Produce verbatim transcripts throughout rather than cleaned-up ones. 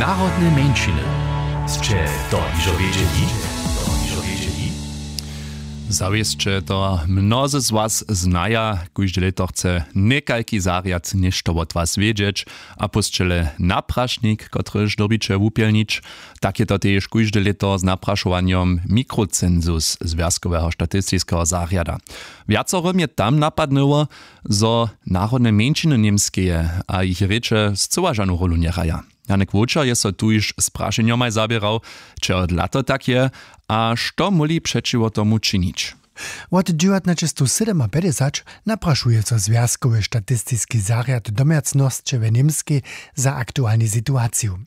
Narodne mjeńšiny. Sće to hižo wědźeli? Zawěsće to mnozy z was znaja, kóžde lěto chce někajki zarjad něšto wot was wědźeć a pósćele naprašnik, kotryž dyrbiće wupjelnić. Tak je to tež kóžde lěto z naprašowanjom mikrocensus zwjazkoweho statistiskeho zarjada. Wjacorym je tam napadnyło, zo narodne mjeńšiny němskeje a jich rěče scyła žanu rólu njehraja. Janek Wołčer je so tuž z prašenjomaj zaběrał, čehodla to tak je a što móhli přećiwo tomu činić. Wot dźewjatnaćestowsydomapjatdesać naprašuje so zwjazkowy statistiski zarjad domjacnosće w němskej za aktualnu situaciju.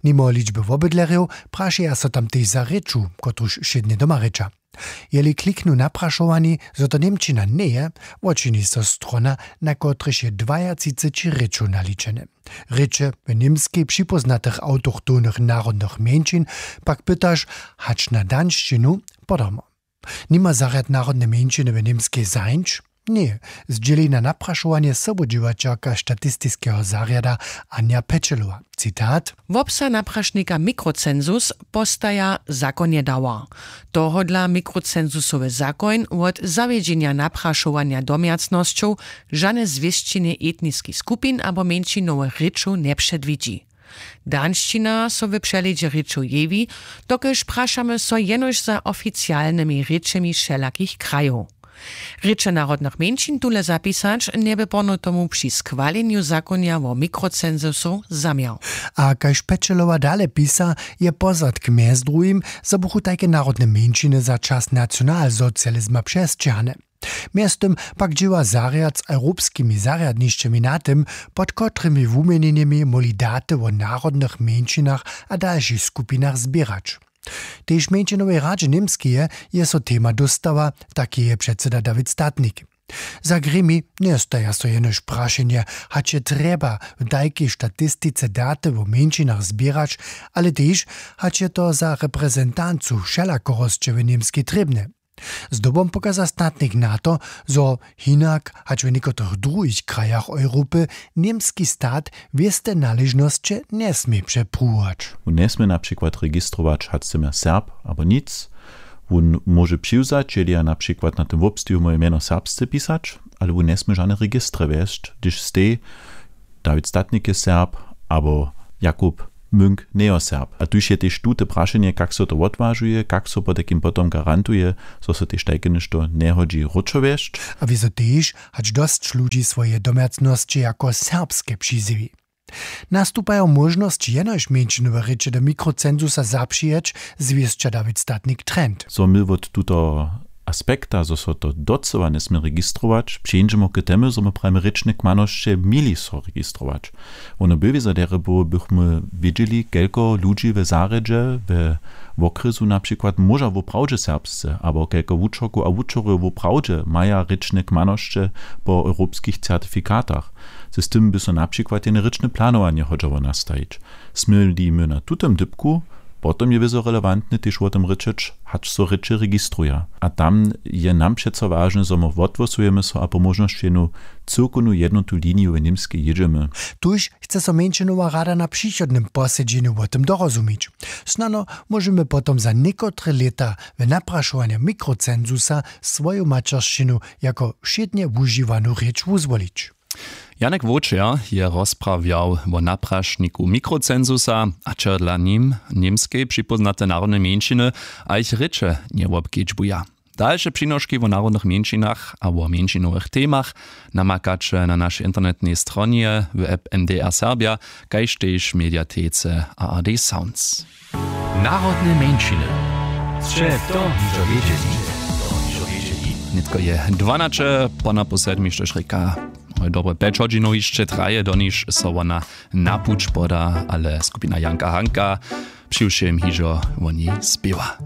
Nimo ličby wobydlerjow prašeja so tam tež za rěču, kotruž wšědnje doma rěča. Jeli kliknu naprašowani, zo to němčina njeje, wočini so strona, na kotrejž je dwajatřiceći rěčow naličene. Rěče w němskej připóznatych awtochtonych narodnych mjeńšin pak pytaš, hač na danšćinu, podarmo. Nima zarjad narodne mjeńšiny w němskej zańć? Ně. Zdźěli na naprašowanje sobudźěłaćerka statistiskeho zarjada, Anja Pečelowa. Citat: Wobsah naprašnika mikrocensus postaja zakonjedała. Tohodla mikrocensusowy zakoń wot zawjedźenja naprašowanja domjacnosćow žane zwěsćenje etniskich skupin abo mjeńšinowych rěčow njepředwidźi. Danšćina so w přehlědźe rěčow jewi, dokelž prašamy so jenož za oficialnymi rěčemi wšelakich krajow. Rěče narodnych mjeńšin tule zapisać njeby porno tomu při schwalenju zakonja wo mikrocensusow zaměr. A kaž Pečelowa dale pisa, je pozadk mjez druhim, zo buchu tajke narodne mjeńšiny za čas nacionalsocializma přesćahne. Mjeztym pak dźěła zarjad z europskimi zarjadnišćemi na tym, pod kotrymi wuměnjenjemi móhli daty wo narodnych mjeńšinach a dalšich skupinach zběrać. Tež w mjeńšinowej radźe němskeje je so tema dóstała, tak je předsyda Dawid Statnik. Za gremij njeostaja so jenož prašenje, hač je trjeba w tajkej statistice daty wo mjeńšinach zběrać, ale tež, hač je to za reprezentancu wšelakorosće w němskej trěbne. Zdobom pokaza Statnik na to, zo hinak hač w někotrych druhich krajach europy němski stat wěste naležnosće njesmě přepruwować. Wón njesmě na přikład registrować, hač sym ja Serb abo nic. Wón móže přiwzać, jeli ja na přikład na tym wobsteju moje mjeno serbsce pisać, ale wón njesmě žane registry wjesć, hdyž stej Dawid Statnik je Serb abo Jakub Münk njejo Serb. A tuž je tež tute prašenje, kak so to wotwažuje, kak so potajkim potom garantuje, zo so tež tajke něšto njehodźi wróćowjesć. A wězo tež, hač dosć ludźi swoje domjacnosće jako serbske přizjewi. Nastupajo móžnosć jenož mjeńšinowe rěče do mikrocensusa zapřijeć, zwěsća Dawid Statnik trend. Zo my wot tutoho aspekta, zo so to docyła njesmě registrować, přeńdźemo k temu, zo my prajimy rěčne kmanosće měli so registrować. Wone by wězo derje było, bychmy wědźeli, kelko ludźi w zarjedźe, we wokrjesu na přikład móža woprawdźe serbsce, abo kelko wučerkow a wučerjow woprawdźe maja rěčne kmanosće po europskich certifikatach. Z tym by so na přikład jene rěčne planowanje hodźało nastajić. Směli my na tutym dypku, potom je wězo relewantne tež wo tym rěčeć, hač so rěče registruja. A tam je nam přeco wažne, zo my wothłosujemy so a po móžnosći jenu cyłkownu jednotnu liniju w Němskej jědźemy. Tuž chce so mjeńšinowa rada na přichodnym posedźenju wo tym dorozumić. Snano móžemy potom za někotre lěta w naprašowanja mikrocensusa swoju maćeršćinu jako wšědnje wužiwanu rěč wuzwolić. Janek Wočer je rozprawjał wo naprašniku mikrocensusa a čehodla nim němskej připóznate narodne mjeńšiny a jich rěče njewobkedźbuja. Dalše přinoški wo narodnych mjeńšinach a wo mjeńšinowych temach namakaće na našej internetnej stronje, w app N D R Serbja, kaž tež w mediatece A R D Sounds. Narodne mjeńšiny. Sće to hižo wědźeli? Nětko je dwanaće po napoł sedmich, štož rěka, dobre pjeć hodźinow hišće traje, do nichž so wona na puć poda, ale skupina Janka Hanka přiwšěm hižo woni spěwa.